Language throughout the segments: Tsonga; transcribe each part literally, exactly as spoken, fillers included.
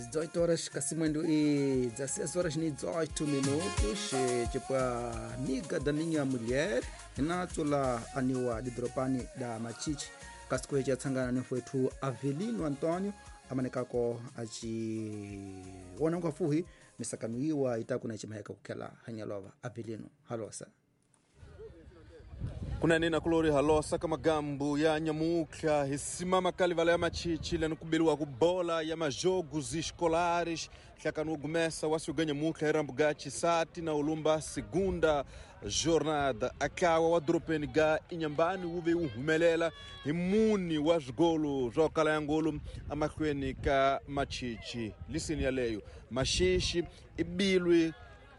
dezoito horas casimando e dezesseis horas e dezoito minutos. Tipo a amiga da minha mulher Renatola aniwa didropani da Machichi kasikueja tsangana ni fwetu Avelino Antônio amanekako aci wona nkwafuhi misakanuiwa itakuna chimaheka kukela hanyalova Avelino halosa kunanena kulori halosa kamagambo ya nyamuka hisimama kalivala ya machichi lenukubeliwa kubola ya majogos escolares hlakanu gumesa wasuga nyamuka erambuga chisati na ulumba segunda jornada akawa wa dropeni ga inyambani uve uhumelela himuni wa zgolo zwa ya ngolo amahlweni ka machichi lisini yaleyo mashishi ibilwe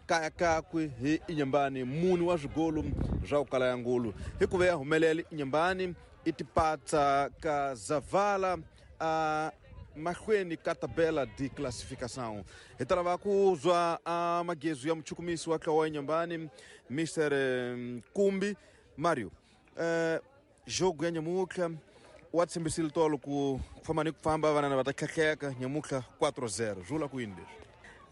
kaya kakwe hi inyambani muni wa zwigolo zwa ukala ya ngulu hikuva ya humelele inyambani itipatsa ka zavala a mahlweni ka tabela de classificação hi ta lava ku zwa a magezu ya muchukumisi wa tlawa inyambani mister Kumbi Mario eh jogo ya nyamuka wa tshembisile tolo ku famba ni ku famba vanana va ta tlhetlheka nyamuka quatro zero zula ku yini leswi.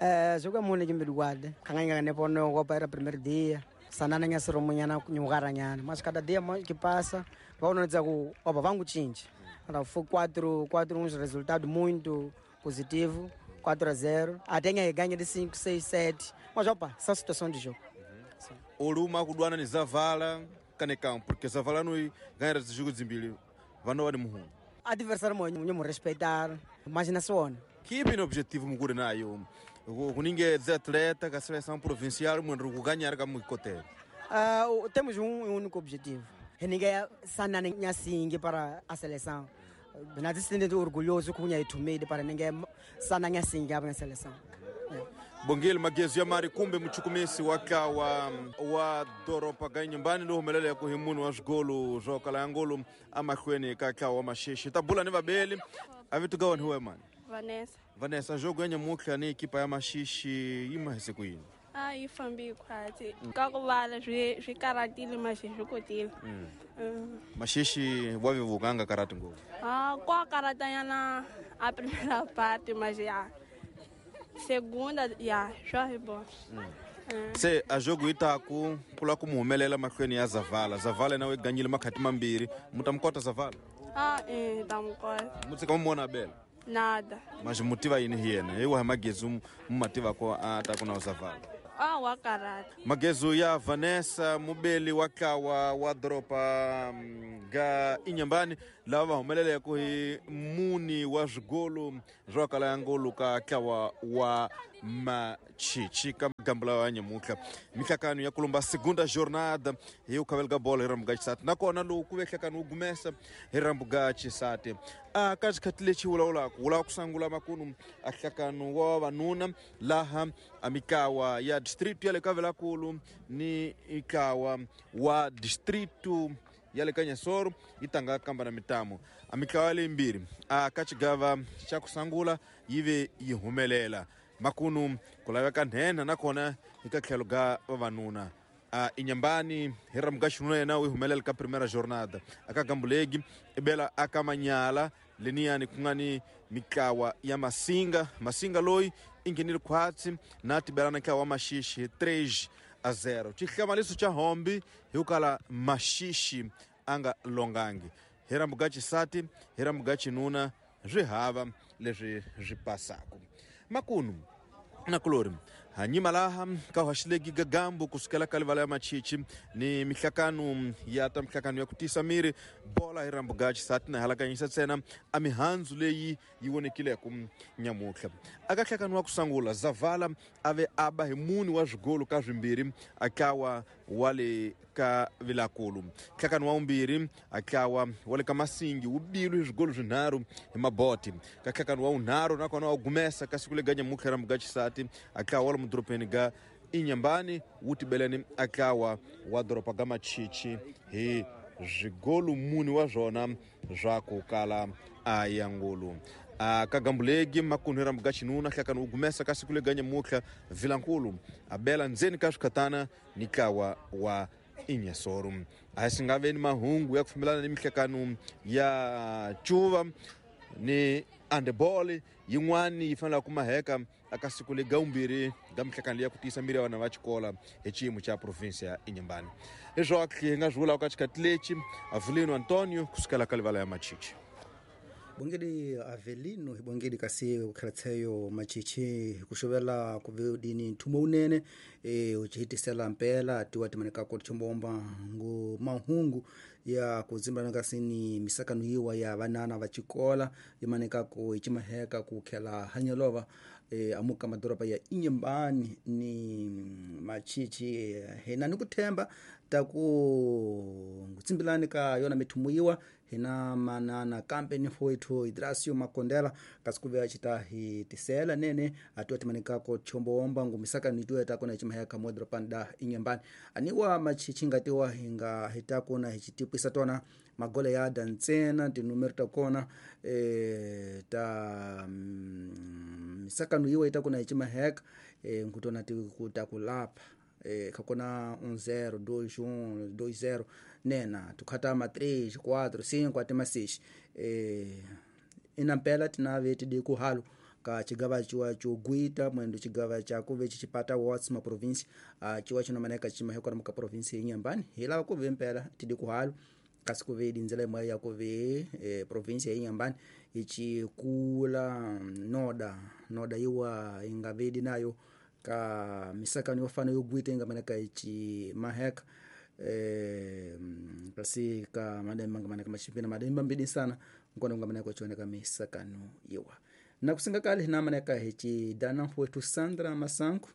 Eh, jogo mune kimbiduade kanganga ne pono go para primeiro dia sanana nya soromunyana nyugaranyana mas cada dia que passa vão dizer ku opa vangu chinche ora foi quatro quatro uns resultado muito positivo quatro a zero até ganha ganha de cinco seis sete mas opa essa situação de jogo. Oluma kudwana ni Zavala kanekam porque Zavala no ganha esse jogo zimbili vano wa muhu adversário mo nyo respeitar mas na sona que bem objetivo mugure nayo kuninge de atleta ka seleção provincial mwendro kuganhar ka muikote. Ah, uh, temos um único objetivo. Ninguém sanana nyasingi para a seleção. Nós estamos orgulhoso com o tumide para ninguém sanana nyasingi para a seleção. Bongile magezu ya mari kumbe muchukumisi wakawa wa doropa ga nyumbani ndo humelele ku himunu wa zgolo zwa kala ngolo amahlweni ka wa mashishi tabula ni vabeli avitugawa ni huwe mani Vanessa. Vanessa jogo ya nyamuka ni ekipa ya mashishi ima hese kuyini? Ah, yi fambi khwatsi. Ka ku vala swi swi karatile mashishi kotile. Mm. Mm. Mashishi wa vivukanga karati ngopfu. Ah, kwa karatanyana a primeira parte mas ya segunda ya swa bo. Mm. Mm. Se a jogo itaku kula kumuhumelela mahlweni ya Zavala. Zavala nawe ganyile makhati mambiri, mutamkota Zavala? Ah, eh, tamkota. Mutsika mumona bela. Nada. Mas motiva yini hiyena iwa magezu mumativa ko ata kuna Zavala. Ah, wa karata. Magezu ya Vanessa mubeli wakawa wa dropa ga inyambani lava humelele ku hi muni wa zwigolo zwa kala ya ngolo ka kawa wa machichi ka gambula wa nyamuka mihlakano ya kulumba segunda jornada hi ukhavelga bola hi rambuga chisati nakona lowu ku ve hlakano wu gumesa hi rambuga chisati a ka xikhathi lexi wulawulaka wula ku sangula makunu a hlakano wa vavanuna laha a mikawa ya distrito ya le ka Velakulu ni ikawa wa distrito ya le ka Nyasoro yi tanga kamba na mitamo a mikawa leyimbirhi a ka xigava xa ku sangula yi ve yi humelela makunu ku laveka nhenha nakona eka tlhelo ga vavanuna a inyambani hi ramuka xinuna yena wu humelela ka primeira jornada aka gambulegi ibela aka manyala leniyani ku nga ni mikawa ya masinga masinga loyi i nghenile khwatsi na tibelana ntlawa wa mashishi três a zero xihlamaliso xa hombi hi ku kala mashishi a nga longangi hi rambuga xisati hi rambuga xinuna swi hava leswi swi pasaku makunu na kulori hanyima laha ka haxilegi gagambo kusukela ka livala ya machichi ni mihlakano ya ta mihlakano ya ku tisa miri bola hi rambuga xisati na halakanyisa ntsena a mihandzu leyi yi vonekileko nyamutlha aka hlakano wa ku sangula Zavala a ve aba hi muni wa zwigolo ka swimbirhi akawa wa le ka Vilakulu hlakano wa vumbirhi akawa wa le ka Masingi wu bilwe hi swigolo swinharhu hi maboti ka hlakano wa vunharhu nakona wa gumesa ka siku lega nyamutlha rambuga xisati akawa wa mudropeni ga inyambani wu tibeleni akawa wa doropa ga machichi hi zwigolo muni wa zwona zwa ku kala a ya ngulu a ka gambulegi makunu rambuga xinuna hlakano wu gumesa ka siku lega nyamutlha Vilankulu a bela ndzeni ka swikhatana ni kawa wa Inyasoro a swi nga veni mahungu ya ku fambelana ni mihlakano ya cuva ni Handball yin'wani yi fanele ku maheka aka siku le gaumbirhi ga mihlekani ya ku tiyisa miri ya vana va xikola hi xiyimo xa province ya Inhambane. Leswaku hi nga swi vulaka ka xikhathi lexi Avelino Antonio kusukela ka livala ya Machichi. Bongedi Avelino hi bongedi kasi ukhalatseyo Machichi kuxovela kuvedini nthumo unene e uchihitisela mpela tiwa timaneka ko chombomba ngo mahungu ya kuzimbana kasi ni misakano yiwa ya vanana va xikola yimaneka ko ichimaheka ku khela hanyelova e amuka madoroba ya Inhambane ni Machichi hina ni kuthemba ta ku ngutsimbilani ka yona mithumo yiwa hina manana kambe ni foitho Idrasio Makondela kasi kuve chita hi tisela nene atuwa timanika ko chomboomba ngumisaka nituwe ta kona chimaheka modropa da Inhambane aniwa Machichi ngatiwa hinga hitakona hichitipwisa tona magole ya dantsena tinumero ta kona e ta mm, misakano yiwa itakona hichimaheka e nkutona tikuta kulapha eh khakona um zero dois um dois zero nena tukhata ma três quatro cinco até ma seis eh inampela tinave tidi kuhalo ka chigava chiwa chogwita mwendo chigava chako vechi chipata wards ma province uh, chiwa chinomaneka chimahekora muka province ya Inhambane hilava kuve mpela tidi kuhalo kasi kuve dinzela imwe ya kuve eh, province ya Inhambane ichikula noda noda iwa ingavedi nayo ka misakano yofana yogwita ingamaneka ichi maheka eh kasi ka mademba ngamaneka machipina mademba mbidi sana nkona ngamaneka chioneka misakano yiwa na kusinga kale hina maneka hichi dana wetu Sandra Masanku.